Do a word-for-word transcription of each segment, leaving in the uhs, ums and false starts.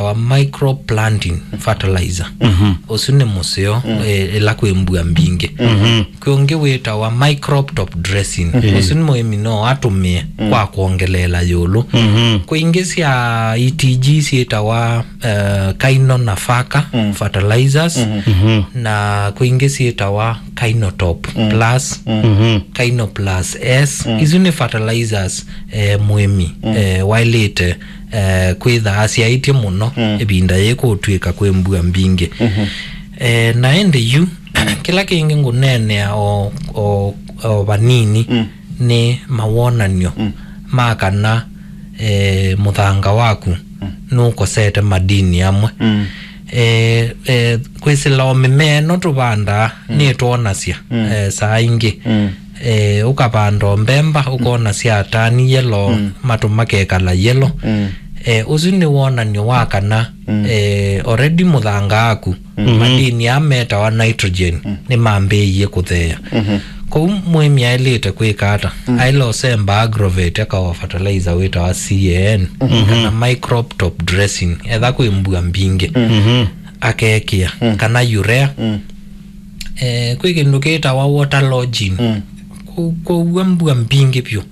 wĩtawa micro planting fertilizer. Ũsu nĩ mũseo, eh, ĩla kwĩ mbua mbingĩ. Kwĩ ũngĩ wĩtawa micro top dressing. Ũsu nĩ mũĩmi no atũmĩe kwa kwongeleela ĩũlũ. Kwĩ ingĩ sya E T G syĩtawa, eh, Kaino Nafaka fertilizers, na kwĩ ingĩ syĩtawa Kaino Top Plus, Kaino Plus S. Isu nĩ fertilizers, eh, mũĩmi, eh, waĩlĩte, eh, kwĩtha asyaĩtye mũno ĩvinda yĩĩ kũtw'ĩka kwĩ mbua mbingĩ. Eh, na ĩndĩ yu, kĩla kĩngĩ ngũneenea o, o, o vanini nĩ mawonany'o ma kana, eh, mũthanga waku nũkosete madini amwe. Eh, eh, kwĩsĩla o mĩmea ĩno tũvandaa nĩtwonasya, eh, saa ingĩ. Eh, ũkavanda o mbemba, ũkona sya tani yellow, matũ makekala yellow. Eh, ũsu nĩ wonany'o wa kana, eh, already mũthanga waku, madini aa metawa nitrogen, nĩmambĩĩie kũtheea. Kwoou mũĩmi aĩlĩte kwĩka ata? Aĩle ũsemba agrovet akaoa fertilizer wĩtawa C A N, kana micro top dressing, etha kwĩ mbua mbingĩ, akekĩa, kana urea. Eh, kwĩ kĩndũ kĩtawa water lodging. Kũ-, kwoou mbua mbingĩ vyũ,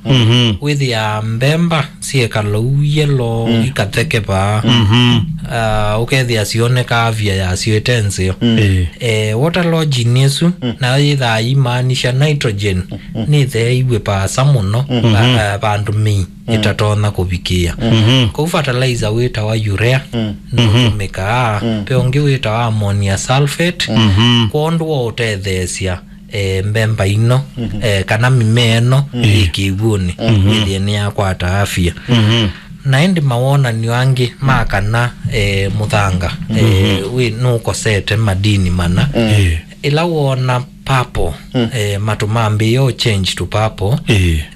wĩthĩa mbemba syekala ũu yellow, ikathekevaa. Ah, ũkethĩa sionekaa avya yasyo ĩte nzeo. Eh, water lodging ĩsu, nayo yĩthaa yĩmaanisha nitrogen nĩtheeiw'e vaasa mũno, va-, eh, vandũ mĩi ĩtatonya kũvikĩĩa. Kwoou fertilizer wĩtawa urea nũtũmĩkaa. Ve ũngĩ wĩtawa ammonia sulfate, kwondũ wa ũtetheesya, eh, mbemba ĩno, eh, kana mĩmea ĩno yĩ kĩw'ũnĩ, wĩthĩe nĩyakwata afya. Na ĩndĩ mawonany'o angĩ ma kana, eh, mũthanga, eh, wĩ nũkosete madini mana. Ĩla woona purple, eh, matũ mambĩĩa ũ change to purple,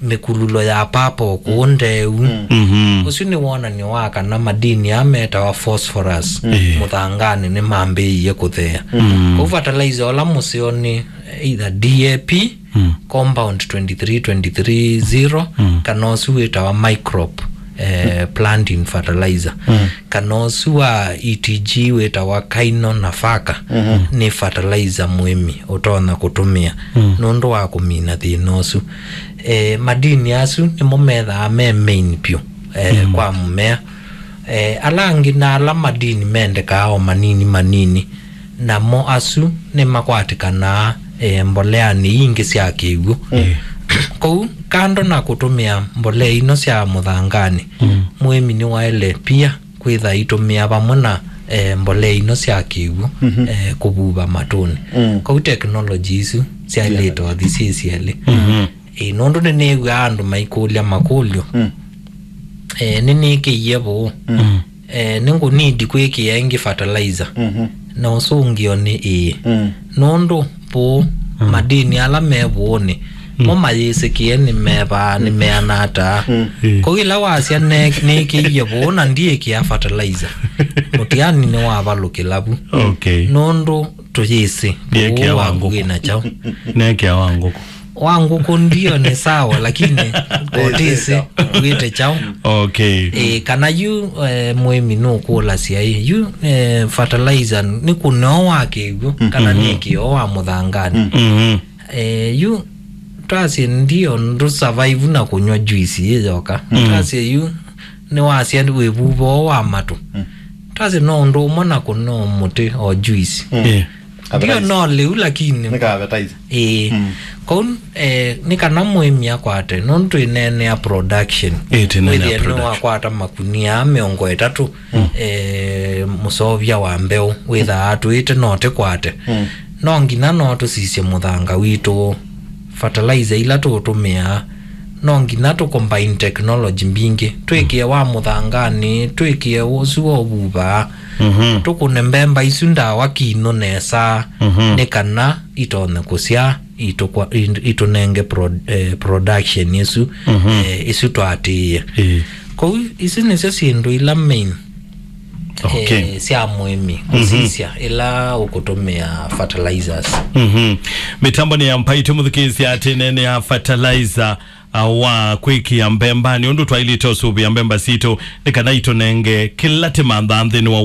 mĩkulũlo ya purple kũũ ndeeu. Ũsu nĩ wonany'o wa kana madini aa metawa phosphorus mũthanganĩ nĩmambĩĩie kũtheea. Kwoou fertilizer ũla mũseo nĩ either D A P, compound twenty-three twenty-three zero, kana ũsu wĩtawa micro, eh, planting fertilizer, kana ũsu wa E T G wĩtawa Kaino Nafaka, nĩ fertilizer mũĩmi ũtonya kũtũmĩa nũndũ wa kũmina thĩna ũsu. Eh, madini asu nĩmo methaa me main vyũ, eh, kwa mũmea. Eh, ala angĩ na ala madini mendekaa o manini manini, namo asu nĩmakwatĩkanaa, eh, mboleanĩ ingĩ sya kĩw'ũ. Kwoou, kando na kũtũmĩa mbolea ino sya mũthanganĩ, mũĩmi nĩwaĩle pia kwĩtha aitũmĩa vamwe na, eh, mbolea ino sya kĩw'ũ, eh, kũvuva matũnĩ. Kwoou teknoloji isu syaĩlĩte ũthi syĩ syelĩ. Ĩĩ, nũndũ nĩnĩw'aa andũ maikũlya makũlyo. Eh, nĩnĩkĩie vũũ. Eh, nĩngũnidi kwĩkĩa ĩngĩ fertilizer? Na ũsũngĩo nĩ ĩĩ. Nũndũ vũũ, madini ala me vũũnĩ, mo mayĩsĩkĩe nĩmevaa, nĩmeana ata. Kwoou ĩla wasya ne-, nĩkĩie vũũ na ndiĩkĩa fertilizer, mũtiani nĩwavalũkĩla vu. Okay. Nũndũ tũyĩsĩ vũũ waku wĩna kyaũ. Nekĩa wa ngũkũ. Wa ngũkũ ndio nĩ sawa, lakini kotĩsĩ wĩte kyaũ. Okay. Eh, kana yu, eh, mũĩmi nũkũlasya ĩ, yu, eh, fertilizer nĩ kũneo wa kĩw'ũ, kana nĩ kĩo wa mũthanganĩ. Eh, yu twasye ndio ndũ survive na kũnywa juice yĩ yoka. Twasye yu nĩwasya wĩvuvoo wa matũ. Twasye no ũndũ ũmwe na kũneo mũtĩ o juice. Eh. Ndio no lĩu, lakini nĩ ka appetizer. Ĩĩ. Kwoou, eh, nĩ kana mũĩmi akwate, nũndũ twĩneenea production. Ĩĩ, twĩneenea wĩthĩe production. Nĩwakwata makunia mĩongo ĩtatũ, eh, mũseũvya wa mbeũ, wĩthaa atwĩte no tĩkwate. No nginya no tũsisye mũthanga witũ, fertilizer ila tũũtũmĩaa, no nginya tũcombine technology mbingĩ, twĩkĩe wa mũthanganĩ, twĩkĩe ũsu wa ũvuvaa, tũkũne mbemba isu ndawa kinũ nesa, nĩ kana itonye kũsyaa, itũkwa-, it-, itũnenge pro-, eh, production ĩsu, eh, ĩsu twatĩĩe. Ĩĩ. Kwoou isu nĩsyo syĩndũ ila main, okay, eh, sya mũĩmi kũsisya ĩla ũkũtũmĩa fertilizers. Mĩtambo nĩ ya Mbaitũ mũthukĩĩsya atĩ nene ya fertilizer. a, wa kwĩkĩa mbemba, nĩ ũndũ twaĩlĩte ũsũvĩa mbemba sitũ nĩ kana itũnenge kĩla tĩmanthaa nthĩnĩ wa